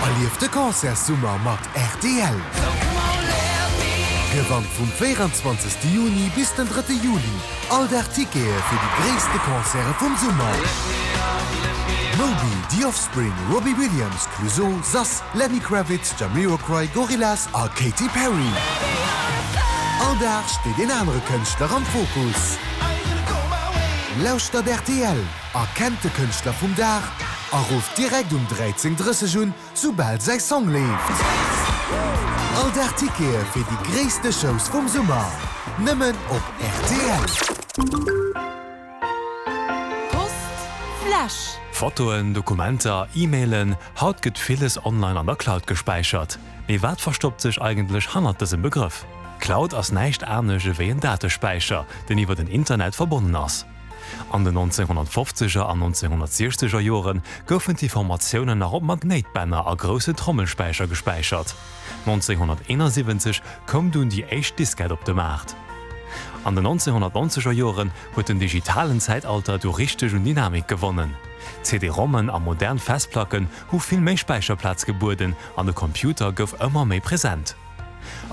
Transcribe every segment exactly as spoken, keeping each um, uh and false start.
Erlieft de Concertssummer mat rtl! Gewannt vum véieranzwanzegste Juni bis den drëtte Juli all Dag Tickete fir déi gréisste Concerte vum Summer! Moby, The Offspring, Robbie Williams, Clouseau, Sass, Lenny Kravitz, Jamiroquai, Gorillaz a Katy Perry. All Dag steet een anere Kënschtler am Fokus. Lauschtert rtl, erkennt de Kënschtler vum Dag a rufft direkt um dräizéng drësseg un, soubal säi Song leeft. All Dag Tickete fir déi gréisste Shows vum Summer, nëmmen op rtl. Post Fläsch. Fotoen, Dokumenter, E-Mailen, haut gëtt villes online an der Cloud gespäichert. Mee wat verstoppt sech eigentlech hannert dësem Begrëff? Cloud ass näischt anescht ewéi en Datespäicher, deen iwwer den Internet verbonnen ass. An den nonzénghonnertfofzeger an nonzénghonnertsiechzeger Jore goufen d'Informatiounen nach op Magnéitbänner a groussen Trommelspäicher gespäichert. nonzénghonnerteenasiwwenzeg koum dunn déi éischt Diskett op de Maart. An den nonzénghonnertnonzeger Joren huet den digitalen Zäitalter du richteg un Dynamik gewonnen. C D-ROMen a modern Festplacken hu vill méi Späicherplaz gebueden an de Computer gouf ëmmer méi present.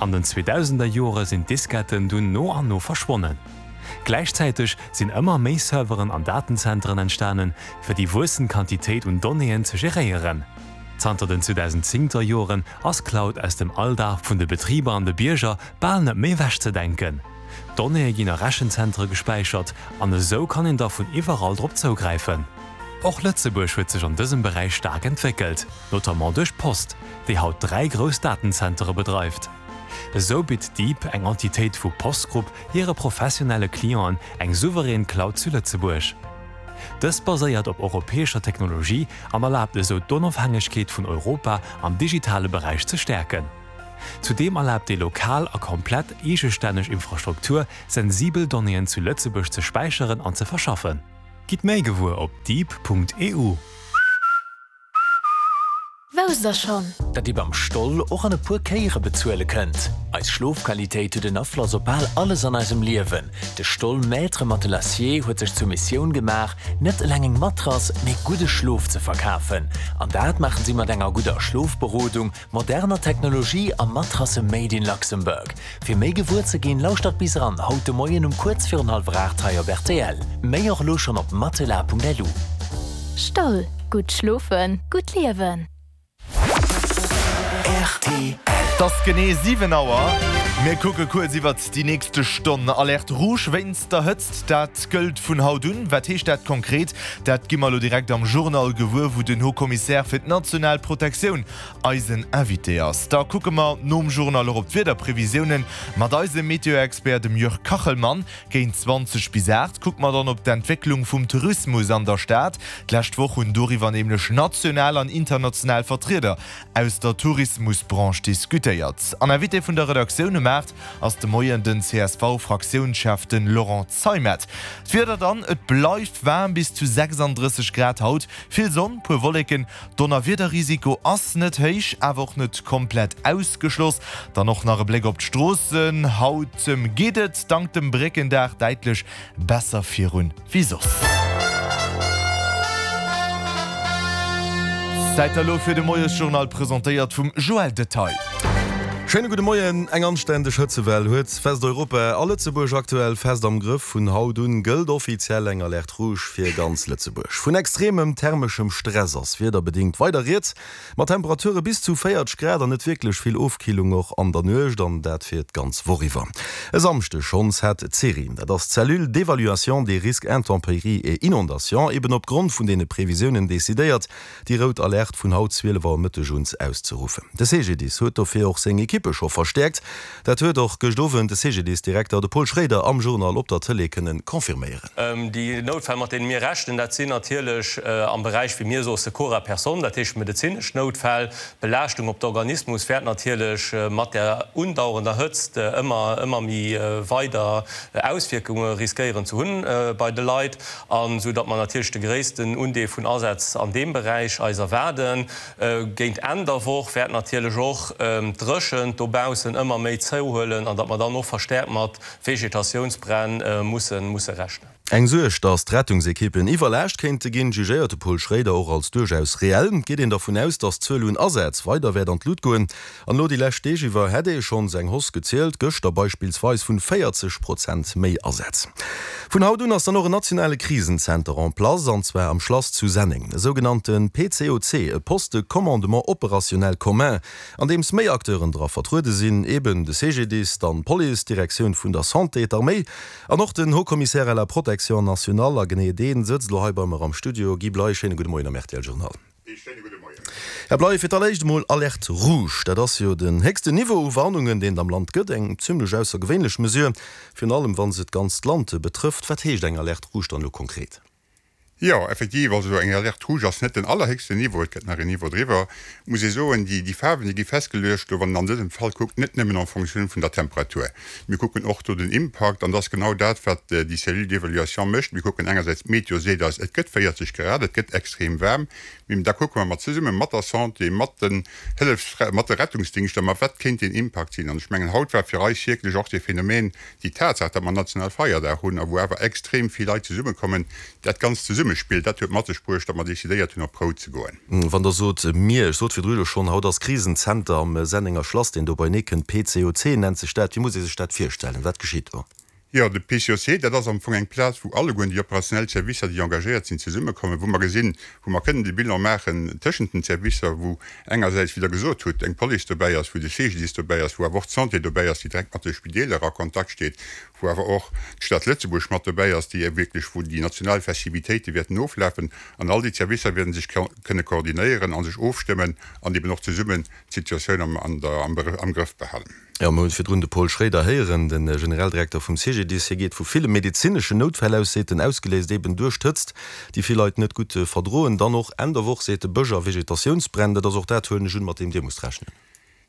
An den zweedausender Jore sinn d'Disketten dunn no an no verschwonnen. Gläichzäiteg sinn ëmmer méi Serveren an Datenzenteren entstanen, fir déi wuessend Quantitéit un Donnéeën ze geréieren. Zanter den zweedausendzéngter Joren ass Cloud aus dem Alldag vun de Betriber an de Bierger bal net méi ewechzedenken. D'Donnéeë ginn a Rechenzentere gespäichert an esou kann een da vun iwwerall drop zougräifen. Och Lëtzebuerg huet sech an dësem Beräich staark entwéckelt, notamment duerch d'Post, déi haut dräi grouss Datenzentere bedreift. Esou bitt Deep, eng Entitéit vu Post Group, hire professionelle Clienten eng souverän Cloud zu Lëtzebuerg. Dës baséiert op europäescher Technologie an erlaabt esou d'Onofhängegkeet vun Europa am digitale Beräich ze stäerken. Zudeem erlaabt déi lokal a komplett eegestänneg Infrastruktur, sensibel Donnéeën zu Lëtzebuerg ze späicheren an ze verschaffen. Gitt méi gewuer op deep Punkt E U. Wousst der schonn? Datt Dir beim Stoll och an e puer Kéiere bezuele kënnt? Eis Schlofqualitéit huet en Afloss op bal alles an eisem Liewen. De Stoll Maître Matelassier huet sech zur Missioun gemaach, net eleng eng Matrass, mee gudde Schlof ze verkafen. An dat maachen si mat enger gudder Schlofberodung, moderner Technologie a Matrasse made in Luxembourg. Fir méi gewuer ze ginn, lauschtert bis eran haut de Moien um kuerz virun hallwer aacht hei op R T L. Méi och elo schonn op matelas Punkt L U. Stoll, gutt schlofen, gutt liewen. R T L. Et ass genee siwen Auer. Mir kucke kuerz iwwert déi nächste Stonn. Alerte rouge wéinst der Hëtzt, dat gëllt vun haut un. Wat heescht dat konkret? Dat gi mer elo direkt am Journal gewuer, wou den Haut-Commissaire fir d'national Protektioun eisen Invité ass. Da kucke mer nom Journal och op d'Wiederprevisiounen mat eisem Meteo-Expert, dem Jörg Kachelmann. Géint zwanzeg bis aacht kucke mer dann op d'Entwécklung vum Tourismus an der Stad. D'lescht Woch hunn doriwwer nämlech national an international Vertrieder aus der Tourismusbranche diskutéiert. An Invité vun der Redaktioun um aacht ass de Moien den C S V-Fraktiounschef, den Laurent Zeimet. D'Wieder dann, Et bleift waarm, bis zu sechsanddrësseg Grad haut, vill Sonn, puer Wolleken, Donnerwiederrisiko ass net héich, awer och net komplett ausgeschloss. Dann och nach e Bléck op d'Stroossen, Haut geet et dank dem Bréckendag däitlech besser virun wéi soss. Zäit elo fir de Moiesjournal, presentéiert vum Joël Detaille. Schéine gudde Moien. Eng anständeg Hëtzewell huet Westeuropa a Lëtzebuerg aktuell fest am Grëff. Vun haut un gëllt offiziell eng Alerte rouge fir ganz Lëtzebuerg. Vun extremem thermeschem Stress ass wiederbedéngt weider rieds, mat Temperature bis zu véierzeg Grad an net wierklech vill Ofkillung och an der Nuecht, an dat fir d'ganz Woch iwwer. E Samschdeg schonns hat d'CERI, dat ass d'Cellule d'évaluation des risques intempéries et inondations, eben opgrond vun deene Previsiounen decidéiert, déi rout Alerte vun haut zwielef Auer Mëtteg un auszeruffen. De C G D I S huet dofir och seng Ekippe scho verstäerkt. Dat huet och gëscht Owend de C G D I S-Direkter, de Paul Schraeder, am Journal op der Tëlee kënnen confirméieren. Déi Noutfäll, mat deene mir rechnen, dat sinn natierlech am Beräich, wéi mir soe Secours à personne, dat heescht medezinesch Noutfäll. D'Belaaschtung op de Organismus wäert natierlech mat der undauernder Hëtzt ëmmer ëmmer méi weider Auswierkunge riskéieren ze hunn bei de Leit, an esou datt mer natierlech de gréissten Undeel vun Asätz an deem Beräich eis erwaarden. Géint Enn der Woch wäert natierlech och d'Dréchent dobaussen ëmmer méi zouhuelen an datt mer dann och verstäerkt mat Vegetatiounsbränn musse musse rechnen. Eng Suerg, datt d'Rettungsekippen iwwerlaascht kéinte ginn, jugéiert de Paul Schraeder och als duerchaus reell. Et geet een dervun aus, datt d'Zuel un Asätz weider wäert an d'Lut goen. An elo déi lescht Deeg iwwer hätt ee schonns eng Hausse gezielt, gëschter beispillsweis vun véierzeg Prozent méi Asätz. Vun haut un ass dann och en nationale Krisenzenter en place, an zwar am Schlass zu Senneng. E sougenannte P C O C, e Poste de commandement opérationnel commun, an deems méi Acteuren dra vertruede sinn, eben de C G D I S, dann d'Police, d'Direktioun vun der Santé, d'Arméi an och den Haut-Commissaire à la Protection nationale. A genee dee sëtzt elo hei bei mer am Studio. Guy Bley, schéine gudde Moien am R T L Journal. Ee schéine gudde Moien. Här Bley, fir d'alleréischt emol, Alerte rouge, dat ass jo den héchsten Niveau u Warnungen, deen et am Land gëtt. Eng zimlech aussergewéinlech Mesure, virun allem wa se d'ganzt Land betrëfft. Wat heescht eng Alerte rouge dann elo konkret? Jo, effektiv, also eng Alerte rouge ass net den allerhéchsten Niveau, et gëtt nach en Niveau driwwer. Muss ee soen, déi, déi Faarwen, déi gi festgeluecht, do wann een an dësem Fall kuckt, net nëmmen en Fonctioun vun der Temperatur. Mir kucken och do den Impakt an dat ass genau dat, wat déi Cellule d'évaluation mécht. Mir kucken engersäits, d'Meteo seet eis, et gëtt véierzeg Grad, et gëtt extrem waarm. Mee da kucke mer mat zesumme mat der Santé, mat den Hëllefs-, mat de Rettungsdingschter, ma wat kéint deen Impakt sinn. An ech mengen, haut war fir eis wierklech och dee Phänomen, déi Tatsaach, datt mer national Feierdag hunn a wou awer extrem vill Leit zesummekommen, dat Ganzt Zesummespill, dat huet mat sech bruecht, datt mer decidéiert hunn, op rout ze goen. Wann Der sot mir, ech sot virdru jo schonn, haut ass Krisenzenter am Sennenger Schlass, deen do beienee kënnt, P C O C nennt sech dat. Wéi muss ee sech dat virstellen? Wat geschitt do? Jo, de P C O C, dat ass am Fong eng Plaz, wou allegueren déi operationell Servicer, déi engagéiert sinn, zesummekommen, wou mer gesinn, wou mer kënnen de Bilan maachen tëschent den Servicer, wou engersäits, wéi Der gesot hutt, eng Police dobäi ass, wou de C G D I S dobäi ass, wou awer och d'Santé dobäi ass, déi direkt mat de Spideeler a Kontakt steet, wou awer och d'Stad Lëtzebuerg mat dobäi ass, déi wierklech, wou déi national Festivitéite wäerten oflafen. An all déi Servicer wäerten sech kënne koordinéieren a sech ofstëmmen an eben och zesummen d'Situatioun am, an der, am, am Grëff behalen. Jo, mir hunn virdrun de Paul Schraeder héieren, de Generaldirekter vum C G D I S. Hie geet vu ville medezineschen Noutfäll aus, seet en, ausgeléist eben duerch d'Hëtzt, déi vill Leit net gutt verdroen. Dann och Enn der Woch, seet e, Bësch a Vegetatiounsbränn. Dat ass och dat, huelen ech un, mat deem Dir musst rechnen.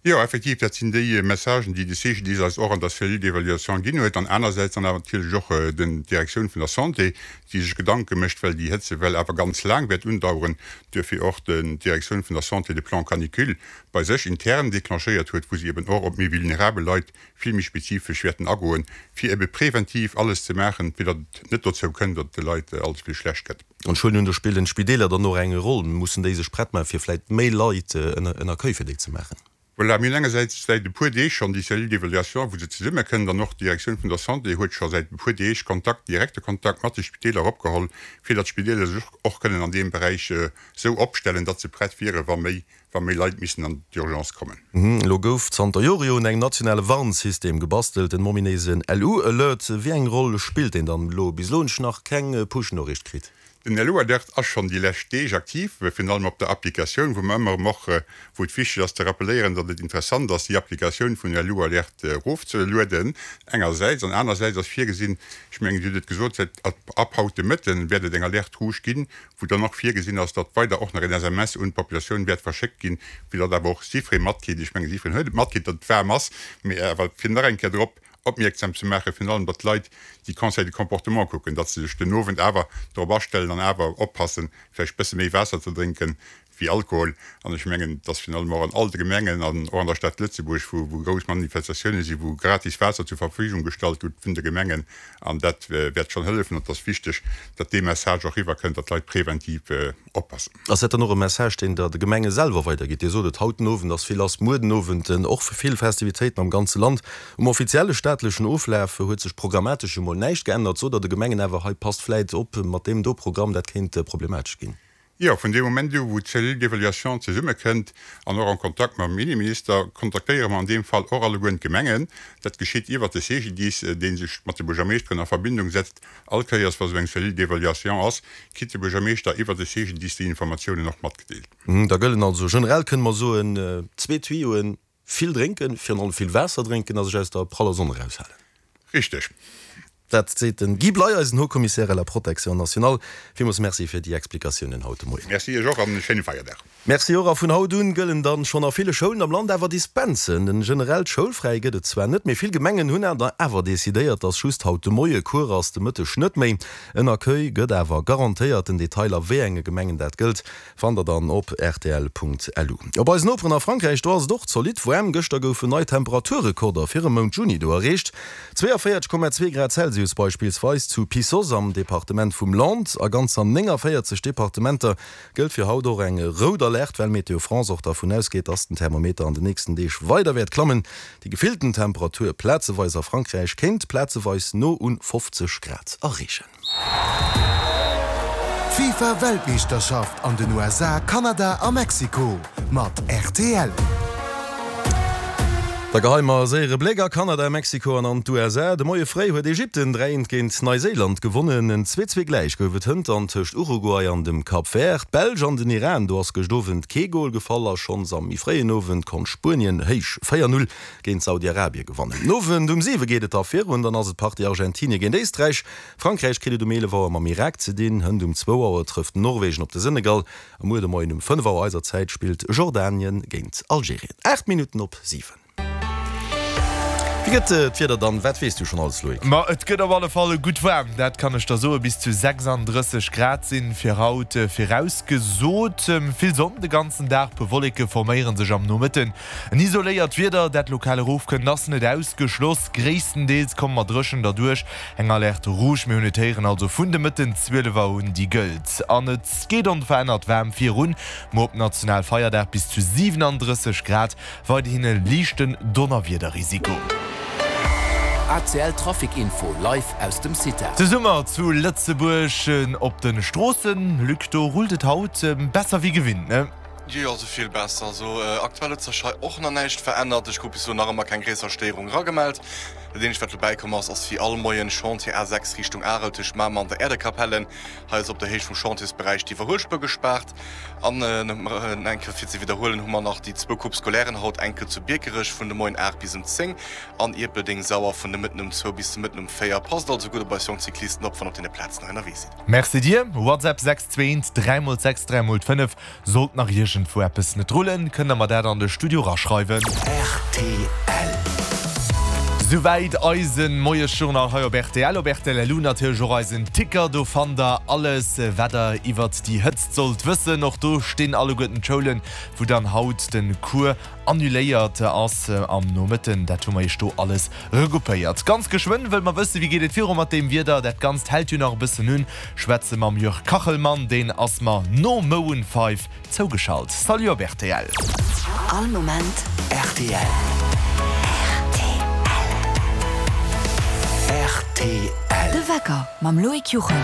Jo, effektiv, dat sinn déi Messagen, déi de C G D I S eis och an der Cellule d'évaluation ginn huet. An anersäits dann awer natierlech och den d'Direktioun vun der Santé, déi sech Gedanke mécht, well déi Hëtzewell awer ganz laang wäert undaueren, duerfir och den d'Direktioun vun der Santé de Plan canicule bei sech intern declenchéiert huet, wou si eben och op méi vulnerabel Leit vill méi spezifesch wäerten agoen, fir ebe preventiv alles ze maachen, fir datt et net dozou kënnt, datt et de Leit allze vill schlecht gëtt. An ech huelen un, do spillen d'Spideeler dann och eng Roll. Mussen déi sech prett maachen, fir vläicht méi Leit en Accueil fir déi ze maachen? Voilà, mir hunn engersäits säit e puer Deeg schonn déi Cellule d'évaluation, wou se zesummekënnt, an och d'Direktioun vun der Santé huet scho säit e puer Deeg Kontakt, direkte Kontakt mat de Spideeler opgeholl, fir datt d'Spideeler sech och kënnen an deem Beräich esou opstellen, datt se prett wieren, wa méi, wa méi Leit missen an d'Urgence kommen. Elo gouf zanter Jore jo un engem nationale Warnsystem gebastelt, den ominéisen L U-Alert. Wéi eng Roll spillt deen dann elo? Bis elo hunn ech nach keng Push-Noriicht kritt. Den L U-Alert ass schonn déi lescht Deeg aktiv, virun allem op der Applikatioun, wou mer ëmmer erëm och, wou et wichteg ass ze rappelléieren, datt et interessant ass, déi Applikatioun vun L U-Alert erofzelueden engersäits, an anersäits ass virgesinn, ech mengen, Dir hutt et gesot, säit ab haut de Mëtten wäert et eng Alerte rouge ginn, wou dann och virgesinn ass, datt weider och nach en S M S un d'Populatioun wäert verschéckt ginn, fir datt awer och jiddweree matkritt, ech mengen, jiddwereen huet et matkritt, datt et waarm ass, mee awer fir nach eng Kéier drop opmierksam ze maachen, virun allem datt d'Leit déi Conseils de comportement kucken, datt se sech den Owend awer drop astellen an awer oppassen, vläicht bësse méi Waasser ze drénken wéi Alkohol. An ech mengen, datt virun allem och an all de Gemengen an och an der Stad Lëtzebuerg, wou wou grouss Manifestatioune sinn, wou gratis Waasser zur Verfügung gestallt gëtt vun de Gemengen, an dat wäert schonn hëllefen. An et ass wichteg, datt dee Message och eriwwerkënnt, datt d'Leit preventiv oppassen. Ass dat dann och e Message, deen Der de Gemenge selwer weidergitt? Dir sot et, haut den Owend ass vill lass, muer den Owend och vill Festivitéiten am ganze Land. Um offizielle staatlechen Oflaf huet sech programmatesch jo mol näischt geännert. Sot Der de Gemengen awer, hei passt vläit op mat deem do Programm, dat kéint problematesch ginn? Jo, vun deem Moment u wou d'Cellule d'évaluation zesummekënnt an och en Kontakt mam Inneminister, kontaktéiere mer an deem Fall och allegueren d'Gemengen. Dat geschitt iwwert de C G D I S, dee sech mat de Buergermeeschteren a Verbindung setzt. All Kéiers wa sou eng Cellule d'évaluation ass, kritt de Buergermeeschter iwwert de C G D I S déi Informatiounen och matgedeelt. Da gëllen also generell, kënne mer soen, zwee Tuyauen, vill drénken, virun allem vill Waasser drénken a sech aus der praller Sonn eraushalen. Richteg. Dat seet den Guy Bley, eisen Haut-Commissaire à la Protection nationale. Villmools Merci fir déi Explikatiounen haut de Moien. Merci Iech och an e schéine Feierdag. Merci och. A vun haut un gëllen dann schonn a ville Schoulen am Land awer Dispensen. En generellt Schoulfräi gëtt et zwar net, mee vill Gemengen hunn awer decidéiert, dass just haut de Moie Cours ass, de Mëtteg net méi. En Accueil gëtt awer garantéiert. Den Detail a wéi enge Gemengen dat gëllt, fannt der dann op rtl.lu. Op eisen Noperen a Frankräich, do ass et och zolidd waarm. Gëschter goufen nei Temperaturrekorder fir e Mount Juni do erreecht. zwéiavéierteg Komma zwee Grad Celsius beispillsweis zu Pissos am Departement vum Landes. A ganzer nénganvéierzeg Departementer gëllt fir haut och eng rout Alerte, well Météo France och dervun ausgeet, dass den Thermometer an den nächsten Deeg weider wäert klammen. Déi gefillten Temperatur plazeweis a Frankräich kéint plazeweis no un fofzeg Grad erreechen. D'FIFA Weltmeeschterschaft an den U S A, Kanada a Mexiko mat R T L. Da geheie mer e séiere Bléck a Kanada, Mexiko an an d'U S A. De Moie fréi huet Ägypten dräi eent géint Neiséiland gewonnen. En zwee zwee gläich gouf et hënt an tëscht Uruguay an dem Cap Vert. D'Belsch an den Iran, do ass gëscht Owend kee Gol gefall a schonns am méi fréien Owend konnt Spuenien héich véier null géint Saudi-Arabie gewannen. Den Owend um siwe geet et da virun, dann ass et d'Partie Argentinie géint Éisträich. Frankräich kritt et um eelef Auer mam Irak ze dinn. Hënt um zwou Auer trëfft Norwegen op de Senegal a muer de Moien um fënnef Auer eiser Zäit spillt Jordanien géint Algerien. Aacht Minutten op siwen. Wéi gëtt d'Wieder dann? Wat weess du schonn alles, Loïc? Ma et gëtt op alle Fall gutt waarm, dat kann ech der soen. Bis zu sechsanddrësseg Grad sinn fir haut virausgesot. Vill Sonn de ganzen Dag, puer Wolleke forméiere sech am Nomëtten. En isoléiert Wieder, dat lokal erofkënnt, ass net ausgeschloss. Gréisstendeels komme mer dréchen derduerch. Eng Alerte rouge, mir hunn et héieren, also vun de Mëtten zwielef Auer un, déi gëllt. An et geet onverännert waarm virun. Muer op Nationalfeierdag bis zu siwenandrësseg Grad, weiderhin e liichten Donnerwiederrisiko. A C L Trafic Info live aus dem CITA. De Summer zu Lëtzebuerg op de Stroossen, Luc, do rullt et haut besser wéi gewinnt, ne? Jo, also vill besser. Also aktuell huet sech hei och nach näischt verännert. Ech krut bis elo nach ëmmer keng gréisser Stéierung eragemellt. Dat eenzegt wat dobäi komm ass, ass wéi all Moien Chantier A sechs Richtung Arel tëscht Mamer an der Äerdekapelle. Hei ass op der Héicht vum Chantiersberäich d'Iwwerhuelspuer gespaart. An eng Kéier fir ze widderhuelen, hu mer nach déi zwou Coupe Scolairen haut, eng Kéier zu Biekerech vun de Moien aacht bis um zéng an Ierpeldeng-Sauer vun de Mëtten um zwou bis de Mëtten um véier. Passt also gutt op eis jonk Cyclisten op, wann op deene Plazen hei ënnerwee sidd. Merci dir. WhatsApp sechs zwee eent dräi mol sechs dräi mol fënnef. Sollt nach iergendwou eppes net rullen, kënnt der mer dat an de Studio raschreiwen. R T L. Souwäit eisen Moiesjournal hei op R T L. Op R T L punkt L U natierlech och eisen Ticker, do fannt der alles wat der iwwert déi Hëtzt sollt wëssen. Och do stinn alleguerten d'Schoulen, wou dann haut de Cours annuléiert ass am Nomëtten. Dat hu mer iech do alles regroupéiert. Ganz geschwënn wëlle mer wëssen, wéi geet et viru mat deem Wieder. Dat Ganzt hält jo nach e bëssen un. Schwätze mam Jörg Kachelmann, deen ass mer no Maroon five zougeschalt. Salut op R T L. All Moment R T L. R T L. De Wecker mam Loïc Juchem.